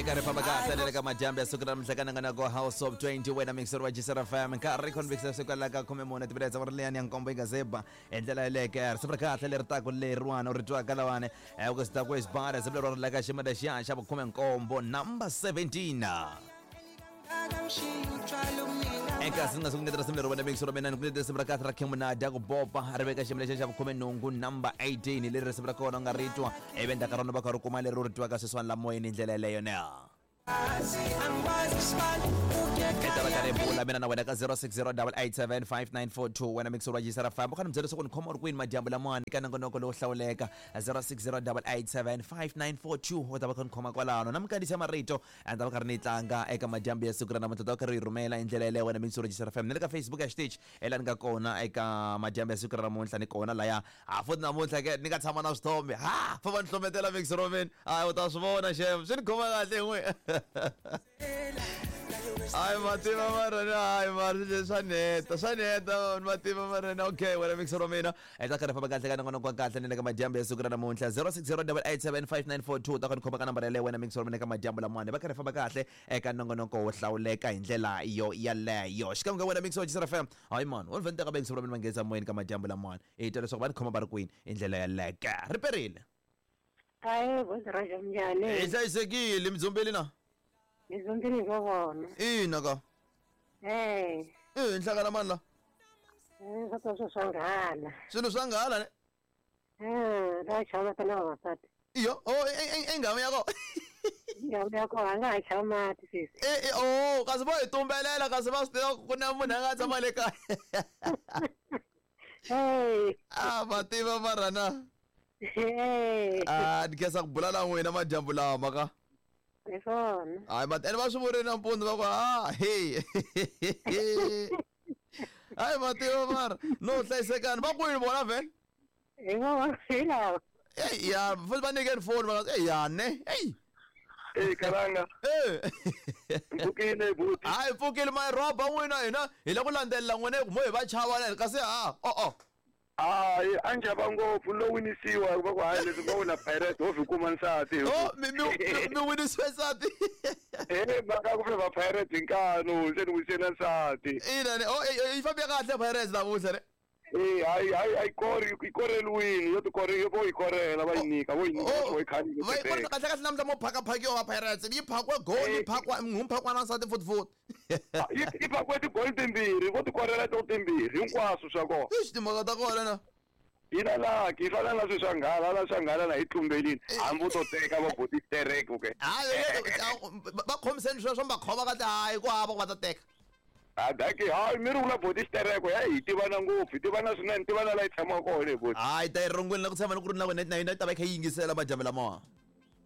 Eka ri famba kahle na le ka madyambu ya siku ra namuntlha ka nongonoko House of 20 wena mixer wa Jisera FM nkarhi convicts siku la ka 14 timinetse wa ri liyani ya nkombo yi nga zeba hi ndlela yeleke risimu ra kahle leri taku leriwani u ri twaka lawani ku sita ku isibara risimu leri ri la ka xiyimo lexiya xa vukhume-nkombo number 17. Eka si nga siku risimu leri wena mixer wa mina ni ku risimu ra kahle ra King Munadi ku bopa ri veka xiyimo lexiya xa vukhume-nhungu number 18 leri risimu ra kona u nga ri twa ivi endzhaku ka rona va kha ri kuma leri u ri twaka sweswiwani la moyeni hi ndlela yeleyo ne. I ta va karhi hi bula mina na wena ka 0608875942 wena mixer wa Jisara famba u kha ni byela leswaku ni khoma u ri kwini madyambu lamawani ka nongonoko lowo hlawuleka 0608875942 u ta va kha ni khoma kwalano na minkandziyiso ya marito a ta va karhi ni yi tlanga eka madyambu ya siku ra namuntlha ta va karhi yi rhumela hi ndlela yeleyo wena mixer wa Jisara FM ni le ka Facebook ya xitichi ela ni nga kona eka madyambu ya siku ra namuntlha ni kona laya ha futhi namuntlha ke ni nga tshama na swithombe ha fa va ni hlometela mixer wa mina hayi u ta swi vona xem swi ni khoma kahle n'we. Hayi mativa marana, hayi mara swa neta, swa neta mativa marana. Okay wena mixer wa mina hi ta karhi famba kahle ka nongonoko wa kahle ni le ka madyambu ya siku ra namuntlha 0608875942 ta ku ni khoma ka nambara yaleyo wena mixer wa mina eka madyambu lamawani va karhi famba kahle eka nongonoko wo hlawuleka hi ndlela yo yaleyo xikan'we ka wena mixer wa Jisara FM. Hayi mani wo ni vhele ni teka mixer wa mina va nghenisa moyeni ka madyambu lamawani hi twa leswaku va ni khoma va ri kwini hi ndlela yaleke ri perile. Hayi Godroja minjhani? Hi hlayisekile mi dzumbeli na? Hi dzumbile hi vo vona. Ina ka. Eh. Eh nhlangana mani la? Eh swa ta swa nghala. Swilo swa nghala ne? Eh la chava ta na vavasati. Iyo, oh e nghamu ya ko. Nghamu ya ko a nga ha chavi mati sesi. Eh eh oh kasi vo hi tumbelela kasi va swi tiva ku na munhu a nga tshama le kaya. Hey. Ah va tiva mara na. Hey. Ah ni khensa ku bula na n'wina madyambu lama ka. Hi swona. Hayi ma ene va swi vurile nampundzu va ku ha hey. Hayi ma tiva mara no hlayisekani va kwini vona vhele? Hi vona hi lava. Hey ya futhi va nyikeni foni va nga hey ya ne hey. Hey Kalanga. Eh. Mpfukile buti. Hayi pfukile my roba n'wina hina hi le ku landzelela n'wina hi ku mo hi va chava na kasi ha oh oh. Hayi a ni chava ngopfu lo winisiwa va ku hayi leswi nga wina Pirates ho vi kuma nsati. Oh mi mi mi winisiwe nsati. Eh mhaka ku va Pirates hi nkanu se ni winise na nsati. Ina ne oh yi fambe kahle Pirates namuntlha ne. Eh hayi hayi ayi kori yi koreliwini yo ti kore vo yi korela va yi nyika vo yi nyika Oh, vo yi khanyile. va yi kona kahle kahle namuntlha mo phakaphakiwa va Pirates yi phakwe goal yi phakwa n'hu phakwa na nsati futhi futhi. Yi yi phakiwe tigoli timbirhi vo ti korela to timbirhi hinkwaswo swa kona. Eish timhaka ta kona na. Yi na lucky yi fana na swilo swa nghala la swa nghala la yi tlumbelini hambi u to teka va boti tereke ke. Hayi va khomiseni sweswo mi va khoma kahle hayi ku hava ku va ta teka. A daki hayi mi ri vula boti xitereko ya hi tivana ngopfu hi tivana swinene tivana la yi tshamaka kona hi boti. Hayi ta yi rungwini la ku tshama ni ku ri na wena na yona yi ta va yi kha yi yingisela madyambu lamawa.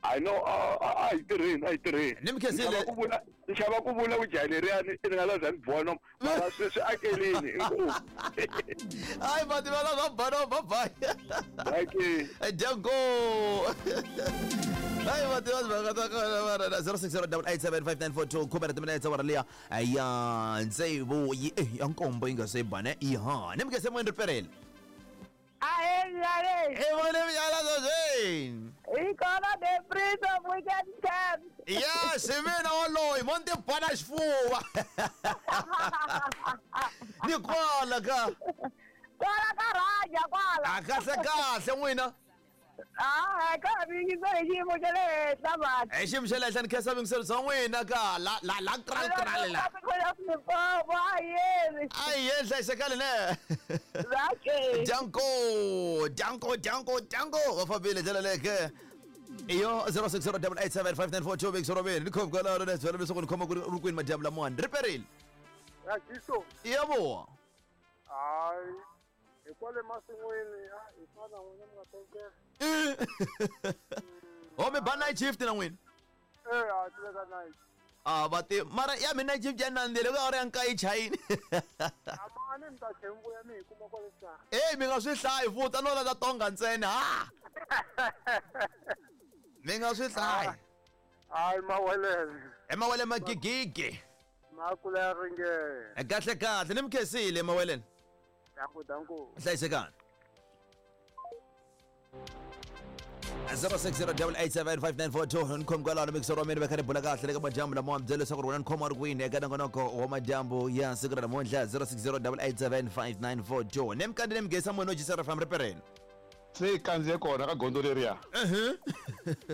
I know a hi tirheni a hi tirheni. Ni mi khensile. Ni ku vula ni xava ku vula ku jaha leriyani ni nga la za ni bono mara sweswi akelini inkomu. Hayi va tiva la va bono bye bye. Dankie. Danko. Hayi va tiva timhaka ta kona mara na 0608875942 khume ra timinetse awara liya ya tsevu yi eh, ya nkombo yi nga se ba ne iha ni mi khense moyeni ri perile. Ahee, I vone mnyala sweswi. Hi kona the Prince of Weekend Camp. Yes, hi mina woloyi mo ni tibana xifuva. Ni kwala ka. Kwala ka Raja kwala. A kahle kahle n'wina. Ah, ka mi yingisela hi xiyimo xa le henhla mani. Hi xiyimo xa le henhla ni khensa vuyingiseri bya n'wina ka la la la kral kral la. Limpopo a yeni. A hi yeni hlayisekani ne. Zake. Danko, danko, danko, danko. Va fambile ndlela leyi ke. Iyo 0608875942 Big Sorobeni. Ni khoma kwalaho na byela leswaku ni khoma ku ri kwini madyambu lamawani. Ri perile. Rajiso. Yebo. Hayi. Hi kwale masin'wini a hi fana n'wina mi nga tekela. Oh mi ba night shift na n'wina. Eh a ti le ka night. Ah va ti mara ya mi night shift ya nandzile ku awara ya nkaye chayini. Amani mi ta tlhe mi vuya mi hi kuma kwale xikarhi. Ey mi nga swi hlayi futhi a no lava tonga ntsena ha. Mi nga swi hlayi. Hayi mawelele. Emawele magigigi. Makula ya ringene. Kahle kahle ni mi khensile emaweleni. Danko danko. Hlayisekani. 0608875942 ni khomi kwalano mixer wa mina va kha ni bula kahle le ka madyambu lama wa mi byela leswaku ri wena ni khoma ri kwini eka nongonoko wa madyambu ya siku ra namuntlha 0608875942 ne mikandi ne migesa munhu o jisera fam ripereni Se yi kandziye kona ka gondzo leriya.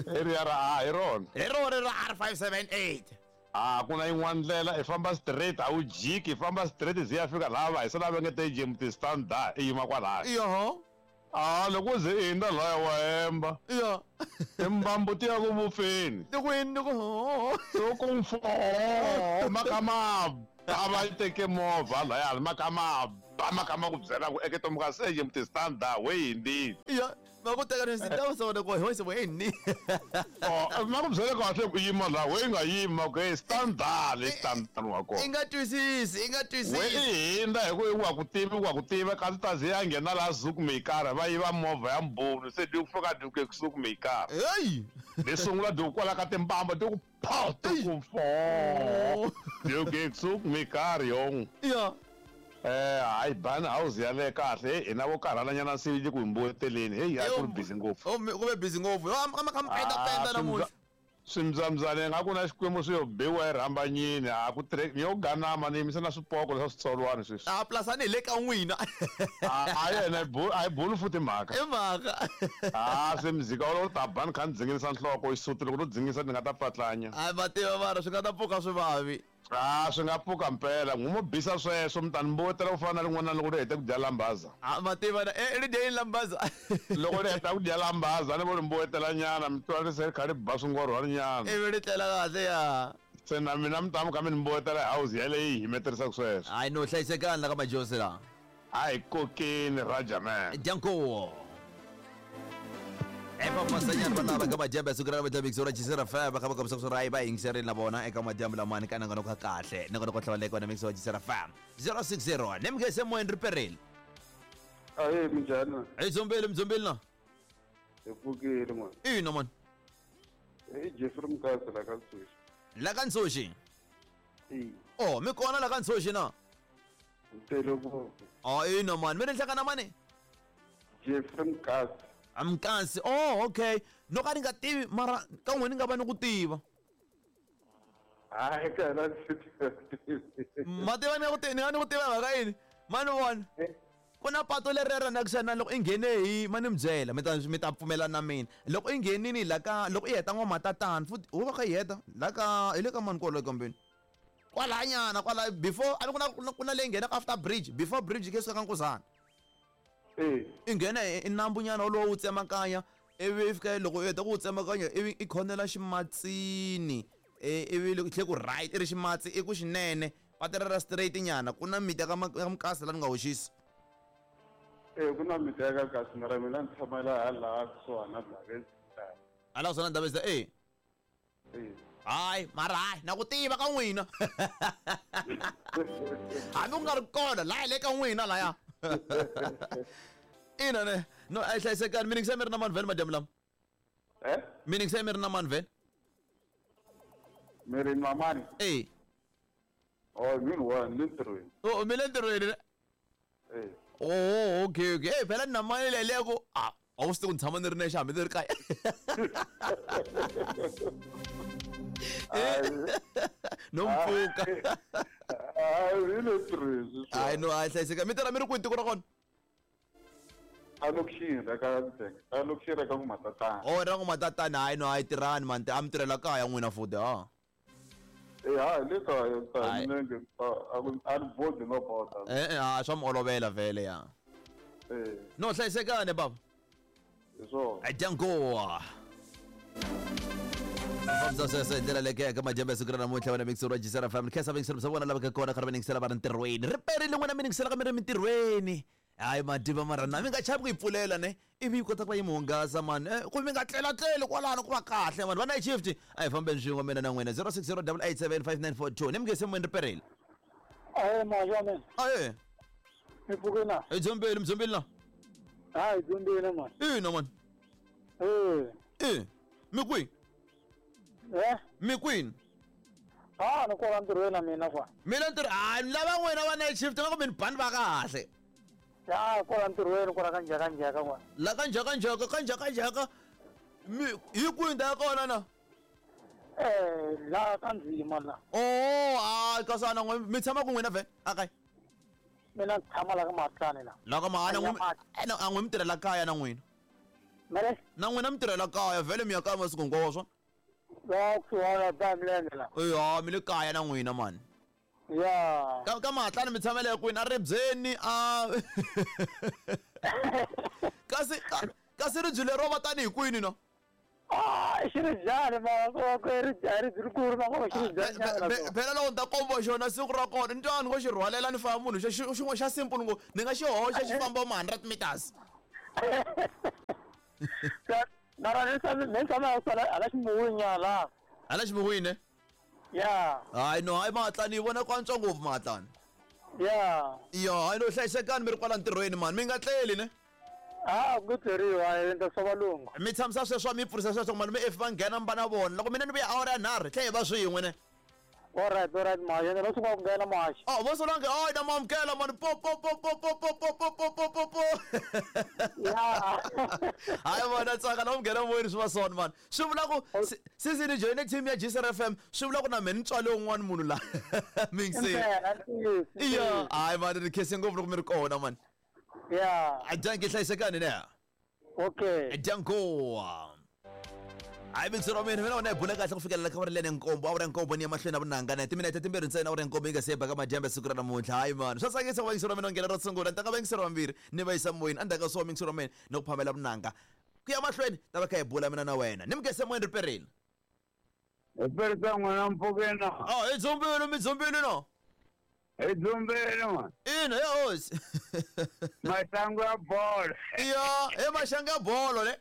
Leriya ra a hi rona. Hi rona ra R578. A ku na yin'wana ndlela i famba straight a wu jiki i famba straight zi ya fika laha va hisa lava nge te James Standard i yima kwalaya. Yoho. A loko u ze i hundza laya wa hemba. Yo. Timbambu ti ya ku vupfeni. Ni ku yini ni ku ho. To ku mfo ma kha ma ba va yi teke movha layani ma kha ma ba ma kha ma ku byela ku eke tomuka se James Standard we hindzile. Yo. Va ku teka ni ta sona ko ho se we ni. Oh, ma ku byela kahle ku yima laha we nga yima ku hey standard le standard wa I kona. nga twisisi, i nga We twisisi. i hindza hi ku i wa ku tivi wa ku tiva kasi ta ze ya nghena laha Zoekmekaar va yiva movha ya mbhoni se di ku fika di ku Zoekmekaar. Hey. Di sungula di ku kwala ka timbamba di ku phaw di ku fo. Di ku Zoekmekaar yong. Yo. Hayi bani house yaleyo kahle hina vo karhalanyana se yi le ku hi mbuyeteleni heyi a ku ri busy ngopfu. Oh, ku ve busy ngopfu. Yo, am kha penda penda namuntlha. Swimbyambyana ingaku na xikwembu swi yo biwa hi rhambanyini a ku tirheki ni yo ganama ni yimisa na swipoko leswa switsolwana sweswi. A plasani hi le ka n'wina. A yena a yi buli futhi mhaka. I mhaka. A se muzika wolowo ta ba ni kha ni dzinginisa nhloko xisuti loko no dzingisa ni nga ta pfatlanya. A ma tiva mara swi nga ta pfuka swi vavi. A swi nga pfuka mpela n'wi mo bisa sweswo mi ta ni mbuyetela ku fana na rin'wana loko ri hete ku dya lambaza. A ma tiva na ri dye yini lambaza? Loko ri heta ku dya lambaza ni vo ri mbuyetela nyana mi twa ri se ri kha ri ba swingorhwana nyana. Ivi ri tlela kahle ya. Se na mina mi ta mi kha mi ni mbuyetela hi house yaleyo yi himeterisaka sweswo. Hayi no hlayisekani la ka majosi la. A hi kokeni Raja man. Danko. Epa masanyana va lava ka madyambu ya siku ra namuntlha mixo ra Jisera FM va kha va kombisa ku ri va yingiserile na vona eka madyambu lamani ka nongonoko wa kahle nongonoko wa hlawuleka wena mixo wa Jisera FM 060 ne mugese moyeni ri perile. Ahee, minjhani na? Hi dzombeli mdzombeli na. Hi pfukile n'wana. Ina mani. I Jeffrey Mukasa la ka Ntshuxi. La ka Ntshuxi? E. Oh, mi kona la ka Ntshuxi na? Ni tele ngopfu. Oh, ina mani, mi ri nhlangana mani? Jeffrey Mukasa. Mukasi. Oh, okay. No ka ni nga tivi mara ka n'wina ni nga va ni ku tiva. Hayi ka hina ndzi tivi. Ma tiva ni nga ku tivi, ni nga ni ku tiva mhaka yini? Mani vona. Ku na pato leri ra na kusuhani na loko i nghene hi ma ni mi byela mi ta mi ta pfumelana na mina. Loko i nghenini la ka loko i heta n'wamatatana futhi wo va kha i heta la ka hi le ka mani kwaloyo kambeni. Kwalanyana kwala before a ni ku na ku na leyi nghenaka after bridge before bridge ke suka ka Nkuzana. I nghena i nambunyana wolowo wu tsemakanya ivi i fika loko u heta ku wu tsemakanya ivi i khonela ximatsini ivi loko tlhe ku right i ri ximatsi i ku xinene patu ra straight nyana ku na miti ya ka Mukasa laha ni nga hoxisi. Ku na miti ya ka Kasi mara mina ni tshama laha laha kusuhana na Ndhavezitha. Hala kusuhana na Ndhavezitha e. Hayi mara hayi na ku tiva ka n'wina. Hambi ku nga ri kona laha hi le ka n'wina laya. Ina ne no a yi hlayisekani mi ni mi ri na mani vhele madyambu lama? Mi ni mi ri na mani vhele? Mi ri na mani? E. Oh, mi ni one ni ntirhweni. Oh, mi le ntirhweni ne? Oh, okay, okay. Hey, phela ni na mali leyi leyi ku a a wu swi tivi ku ni tshama ni ri nexe hambi ni ri kaya. No mpfuka. Hayi, hi le ntirhweni. Hayi no, hayi hlayiseka. Mi tirha mi ri kwihi tiko ra kona? A lokixini ra ka Ndzhenga. A lokixini ra ka N'wamatatana. Oh, ra N'wamatatana. Hayi no, hayi tirhani man. A mi tirhela kaya n'wina futhi ha. Eh, hayi le kaya ta minenge a ni bodi no boda. Eh, ha swa mi olovela vhele ya. Eh. No hlayisekani baba. Hi swona. Danko. Fambisa sweswo hi ndlela leyi ka madyambu ya siku ra namuntlha wena mixer wa Jisera FM. Khensa vayingiseri bya vona lava ka kona karhi va yingisela va ri ntirhweni. Ri perile n'wina mi yingisela ka mi ri mintirhweni. Hayi mativa mara na mi nga chavi ku yi pfulela ne ivi yi kota ku va yi mi hungasa mani. Ku mi nga tlelatleli kwalano ku va kahle mani. Va night shift a hi fambeni swin'we mina na n'wina 0608875942 ni mi nge se moyeni ri perile. Ahee maja mina. Ahee. Mi pfuke na? Hi dzombeli mi dzombeli na? Hayi dzombeli mani. Ina mani. Eh. Eh. Mi kwihi? Eh? Mi kwini? Ah, ni kwala ntirhweni na mina kwa. Mina ntirho hayi ni lava n'wina va night shift nga ku mi ni bani va kahle. Ya, kwala ntirhweni kwala ka njhaka njhaka kwa. La ka njhaka njhaka ka njhaka njhaka. Hi kwihi ndhawu ya kona na? La ka ndzima la. Oh, a kasi ana n'we mi tshama ku n'wina vhele a kaya? Mina ndzi tshama la ka Mahatlani la. La ka Mahana n'we a n'we mi tirhela kaya na n'wina? Mele? Na n'wina mi tirhela kaya vhele mi ya kaya masiku hinkwawo swona? La kusuhana ba milenge la. Ya mi le kaya na n'wina mani. Ya. Ka Mahatlani mi tshamela kwini? A ribyeni a kasi kasi ribye lero va tanihi kwini no? Ah, xiribyani ma ribye rikulu ma ngo xiribyani. Phela loko ni ta komba xona siku ra kona ni twa ni ngo xi rhwalela ni famba munhu xin'we xa simple ngo ni nga xi hoxa xi famba ma 100 meters. Mara ni tshama hala ximuwini la. Hala ximuwini? Ya. Hayi no, hayi Mahatlani yi vona ku antswa ngopfu Mahatlani. Ya. Ya, hayi no hlayisekani mi ri kwala ntirhweni mani, mi nga tleli ne? Ah, ku tleriwa endla swa valungu. Mi tshamisa sweswo mi pfurisa sweswo malume if va nghena mi va na vona. Loko mina ni vuya awara ya 3 tlhe hi va swin'we ne. Alright, alright mashi, ene va sungula ku nghena mashi. Oh, vo sungula oh na mamukela mani po po po po po po po po po po po po. Ya. Hayi vona tsaka na munghena moyeni swi va swona mani. Swi vula ku since ni join team ya GCR FM swi vula ku na mina ni tswale un'wana munhu la. Mingiseni. Ya, hayi mani ni khense ngopfu loko mi ri kona mani. Ya. Dankie hlayisekani ne. Okay. Danko. Hayi mixero wa mina mina wena hi bula kahle ku fikelela ka awara lene nkombo awara nkombo ni ya mahlweni na vunanga na timinete timbirhi ntsena awara nkombo yi nga se ba ka madyambu ya siku ra namuntlha. Hayi mani swa tsakisa ku va yingiseri wa mina u nghena ro sungula ni ta ka vayingiseri vambirhi ni va yisa moyeni endzhaku ka swo mixero wa mina ni ku phamela vunanga ku ya mahlweni ta va kha hi bula mina na wena ni mugese moyeni riperini. Hi perisa n'wina mpfukeni. Oh, hi dzumbile mi dzumbile no? Hi dzumbile man. Ina ya hosi. Maxangu ya bolo. Ya, he maxangu ya bolo ne.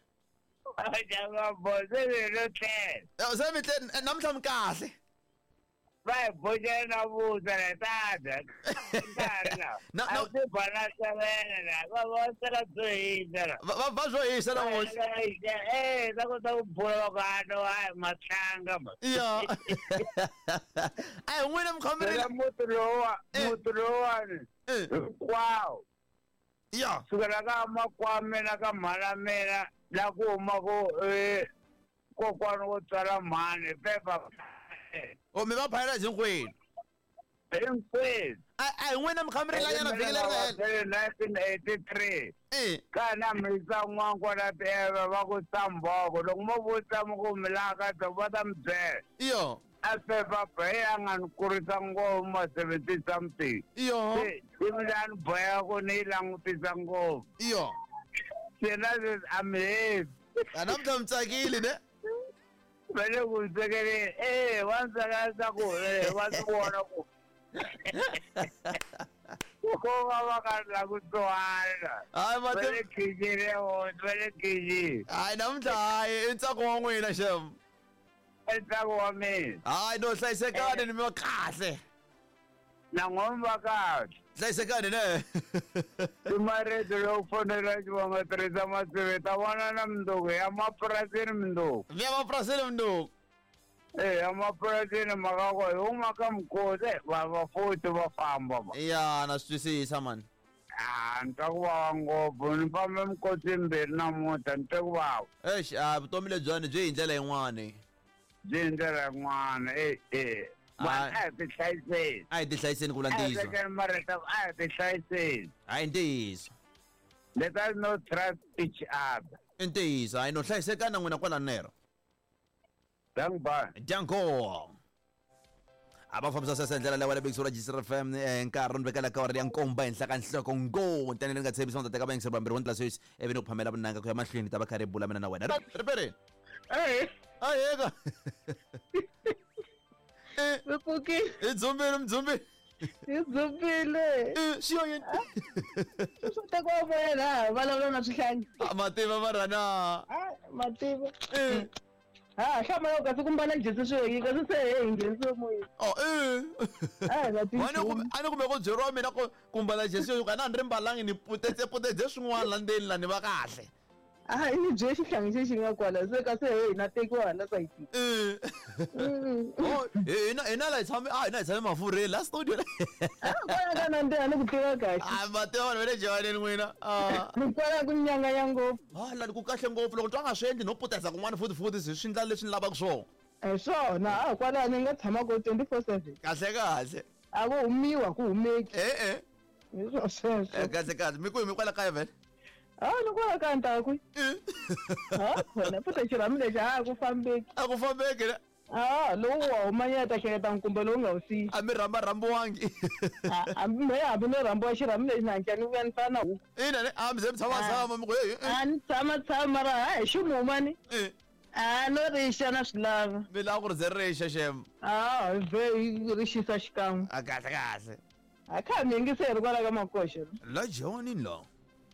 Maxangu ya bolo se mi lo tlela. Se mi tlele namuntlha mi kahle. Va hi boxela na vuswa la ta dya. Nkarhi la. A swi ba na sevene la. Va va sela byo hisa la. Va byo hisa namuntlha. Eh, va kota ku bula va ku a no hayi matlanga ma. Ya. A hi n'wina mi khomerile. Muti lowa, muti lowani. Hinkwawo. Ya. Sukela ka makwami mina ka mhana mina la ku huma ku kokwana wo tswala mhani pepa. O mi va phayela hinkwenu. Hinkwenu. A hi n'wina mi kha mi rilanyana vhiki leri nga hela. 1983. Ka na mi yisa n'wangu la tieve va ku samboko loko mo vutisa mi ku mi laha ka va ta mi byela. Iyo. A pepa he a nga ni kurisa ngopfu ma 70 something. Iyo. Se ivi la ni boheka ku ni yi langutisa ngopfu. Iyo. Se na sweswi a mi heti. A namuntlha mi tsakile ne? Va le ku tsakeleni va ni tsakela ku va swi vona ku ko va va ka ri la ku tsohana. Hayi Va le khixini va le khixini. Hayi namuntlha hayi i ntsako wa n'wina xem. I ntsako wa mina. Hayi no hlayisekani ni mi va kahle. Na n'we mi va kahle. Hlayisekani ne. I marito lowu fonela xivongo tirhisa masivi ta vona na mundzuku ya mapurasini mundzuku. Mi ya mapurasini mundzuku. Ya mapurasini mhaka ku hi huma ka mikosi va va futhi va famba va. Ya na swi twisisa mani. Ah, ni twa ku vava ngopfu ni fambe mikosi mbirhi namuntlha ni twe ku vava. Eish, a vutomi lebyiwani byi hi ndlela yin'wani. Byi hi ndlela yin'wana Vanhu a hi tihlayiseni. A hi tihlayiseni ku vula ntiyiso. A hi tekeni marito a hi tihlayiseni. Hayi ntiyiso. Let us not trust each other. I ntiyiso, hayi no hlayisekani na n'wina kwala nero. Danko. Danko. A va fambisa sweswo hi ndlela leyi wa le ra GCR FM nkarhi ni vekela ka awara ya nkombo ehenhla ka nhloko ngo ntene ni nga tshembisa ni ta teka vayingiseri vambirhi wo ndlela sweswi ivi ni ku phamela vunanga ku ya mahlweni ta va kha ri bula mina na wena. Riperini. Aheka. Mi pfukile. Hi dzumbile mi dzumbile. Hi dzumbile. Swi yo yini? Swi tekiwa moya laha vulavula na swihlangi. Mativa mara na. Mativa. Ha, hlamala kasi ku mbala jesi swi kasi se he nghenisiwe moyeni. Oh, Ah, na a ni kume ku byeriwa mina ku mbala jesi yo ka na ni ri mbalangi ni putetse putetse swin'wana la ndzeni la ni va kahle. Ah, ni bye xihlangi xexi nga kwala se kasi he na tekiwa hala sayitini. Oh, hina Hina la hi tshame, a hina hi tshame mafurheni la studio. A kwala ka nandziha ni ku tiva kahle. A ma tiva vanhu va le jiwaneni n'wina. Ah. Ni kwala ku nyanganya ngopfu. Ah, la ku kahle ngopfu loko twa nga swi endli no putesa kun'wana futhi futhi swi endla leswi ni lavaka swona. Hi swona, a kwala ni nga tshama ko 24/7. Kahle kahle. A ku humiwa ku humeki. E-e. Hi swo sweswo. Kahle kahle mi kwihi, mi kwala kaya vhele? A ni kwala ka ntaku. Ha khona futhi xirhami lexi a ku fambeki. A ku fambeki ne? A lowu wa humanyeta ta hleketa nkumbe lowu nga wu siyi. A mi rhamba rhambiwangi. Hambi me hambi no rhambiwa xirhami lexi na hankya ni vuya ni fana na huku. Ina ne, a mi ze mi tshama tshama mi ku hey. A ni tshama tshama mara ha hi ximuma ni. A no rixa na swi lava. Mi lava ku ri ze rixa xem. A ve yi rixisa xikan'we. A kahle kahle. A kha mi yingiseri kwala ka makoxa. La jiwanini la.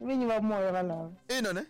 Vinyi va moya valava. Ina ne?